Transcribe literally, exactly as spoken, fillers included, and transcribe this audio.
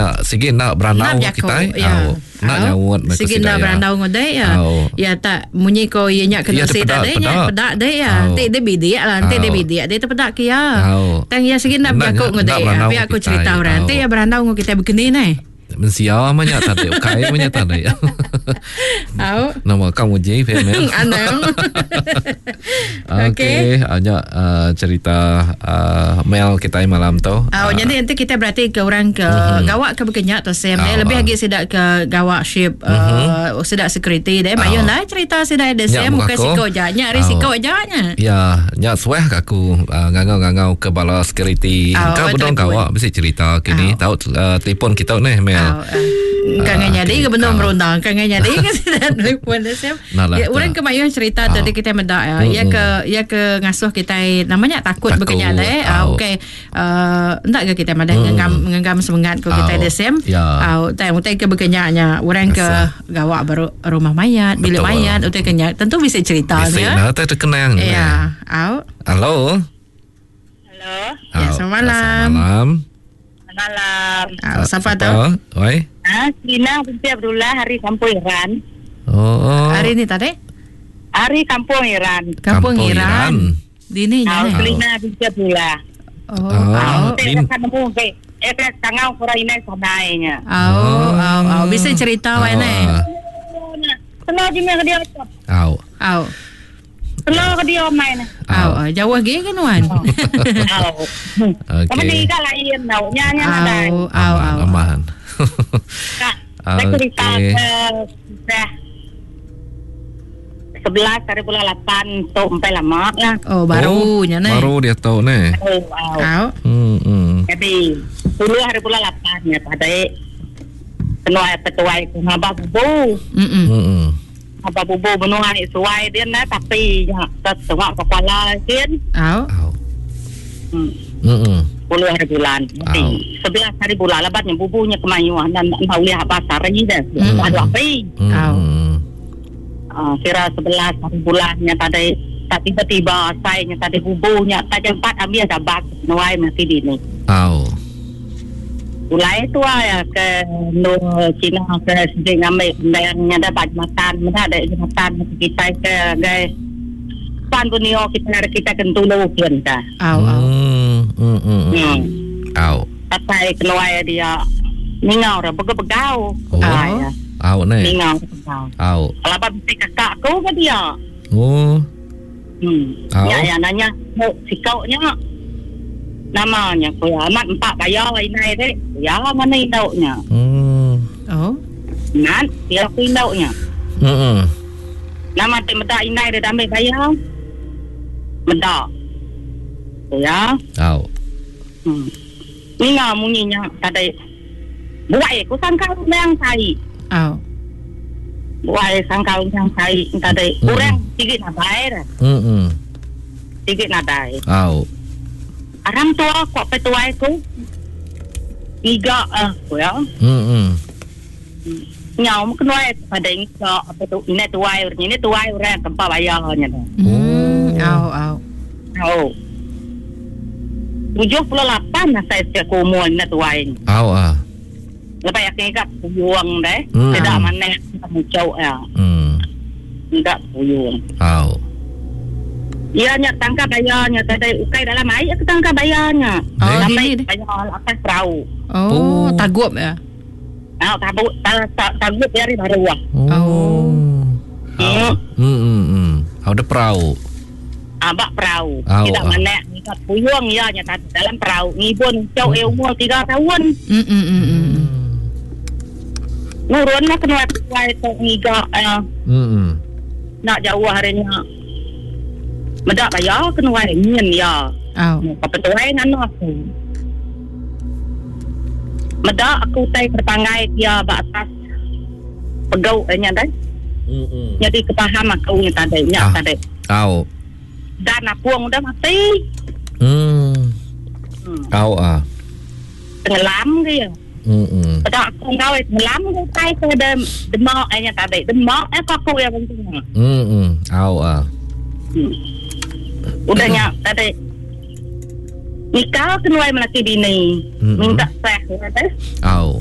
nya sigi enda berandau Nak enggau kitai. Ya. Au. Enda Au. nyaut meh ku Sigi sida enda iya. berandau enggau dek ya. Au. Ya tak munyi ko iya nya kena Iya, si tepeda, tadi nya peda. peda dek ya. Au. Enti dia bidik lah, enti dia Au. bidik dia tepeda ke iya. Au. Tang iya sigi enda Enda bejaku nya, enggau enda dek. ya. berandau Pia enggau aku kitai. cerita orang. Au. Enti iya berandau enggau kitai begeni neh. Mensia mah nya tadi, ukai mah nya tadi. Au. Nama kau nguji Femel. Anang. Okey, okay. nya uh, cerita uh, Mel kita malam tu. Oh, uh, jadi nanti kita berarti ke orang ke uh-huh. gawak ke bekenya tu Sam. Uh, lebih lagi sidak ke gawak ship uh, uh-huh. sidak security deh. Mayun lah cerita sidak ada Sam bukan siko je. Nya ari siko je nya. Ya, nya suah ke aku uh, ngangau-ngangau ke bala security. Oh, Kau bedong gawak mesti cerita kini. Tahu uh, telefon kita ni Mel. Oh, uh, kan uh, jadi ke benar merundang kan jadi ke sidak telefon deh Sam. Ya, orang ke mayun cerita tadi kita medak ya. Ya ke ya ke ngasuh kita namanya takut, takut. Bekenya deh. Uh, okey. Uh, endak ke kita madah ngenggam ngenggam semangat ko kita deh Sam. Ya. Uh, utai utai ke bekenyanya orang ke gawak baru rumah mayat, bilik mayat utai kenya tentu bisa cerita ya. Bisa nah terkenang. Ya. Au. Halo. Halo. Ya, selamat malam. Selamat malam. Malam. Au, siapa tu? Oi. Ha, Lina binti Abdullah hari Kampung Iran. Oh, oh. Hari ni tadi? Hari Kampung Iran. Kampung, Kampung Iran. Dini nya. Lina binti Abdullah. Oh. Oh. Lin. Eh, tangau kurang ini sanainya. Oh, oh, oh, bisa cerita oh. Wai Senang je ke dia. Au. Au. Senang ke dia main. Au, jauh lagi kan wan. Au. Okey. Ni kan lain tau. Nya nya nadai. Au, au, au. Aman. Saya cerita ke sebelas hari bulan lapan tu sampai lama lah. Oh, baru nya ni. Baru dia tahu ni. Oh, au. Hmm, hmm. Jadi sepuluh hari bulan lapan ya pada penuai petuai ku ngabah bubu. Hmm. Hmm. Ngabah bubu menuai suai dia nah tapi ya tengok kepala kin. Au. Hmm. Hmm. sepuluh hari bulan. Sebelas hari bulan lebatnya bubunya kemayuan dan tak boleh habis hari dah. Ada api. Au. Uh, kira sebelas hari bulannya tadi tak tiba-tiba saya tadi bubunya tak jam empat ambil dabak nuai mati dini. Au. Ulai tu ya ke nu Cina ke sejeng ambil bendangnya dapat jematan, mana ada jematan kita ke gai pan bunio kita kita kentulu kian ta. Au au. Hmm hmm. Hmm. Au. Patai keluar dia ningau ra begau-begau. Oh. Au ni. Ningau. Au. Kalau bisi kakak aku ke dia. Oh. Hmm. Au. Ya ya nanya, "Mo sikaunya namanya ku amat empat bayar inai dek. Ya mana induknya?" Hmm. Oh. Nan, dia aku induknya. Hmm. Nama te medak inai dia ambil bayar. Medak. Ya. Au. Hmm. Ninga munyinya tadi. Buai ku sangka undang sai. Au. Buai sangka undang sai tadi. Kurang sikit nadai dah. Hmm. Sikit nadai. Au. Aram tua kok petuai ku. Tiga ah ya. Hmm. Nyau kena pada ingka apa tu ini tuai ini tuai orang tempat bayarnya tu. Hmm. Au au. Au. Tujuh puluh lapan lah saya setiap umur ini tuai. Au ah. Lepas yakin kat puyuang deh. Hmm. Tidak mana muncul ya. Hmm. Tidak puyuang. Au. Ia nya tangkap bayarnya tadi ukai dalam air aku tangkap bayarnya. Oh, sampai dini. Bayar atas perahu. Oh, Oh. tagup ya. Ah, tagup tagup dari baru ah. Oh. Hmm. Hmm hmm hmm. Au ada perahu. Abak perahu. Au, Tidak ah. mana kat puyuang ia nya tadi dalam perahu. Ngibun cau e umur tiga tahun. Hmm hmm hmm. hmm. Nurun lah kena tuai tu ngiga eh, Hmm. nak jauh harinya. Medak bayar kena wai nyin ya. Au. Apa tuai nganu aku. Medak aku tai terpanggai dia ba atas pegau nya dai. Hmm. Jadi kepaham aku nya tadi nya Ah. tadi. Au. Dan apung dah mati. Hmm. Hmm. Au ah. Tenggelam dia. Hmm. Hmm. Pada aku ngau tenggelam ke tai ke dem demak nya tadi. Demak eh aku yang penting. Hmm. hmm. Au ah. Hmm. Udahnya tadi nikah kenuai melaki bini Mm-mm. minta sah kata Au.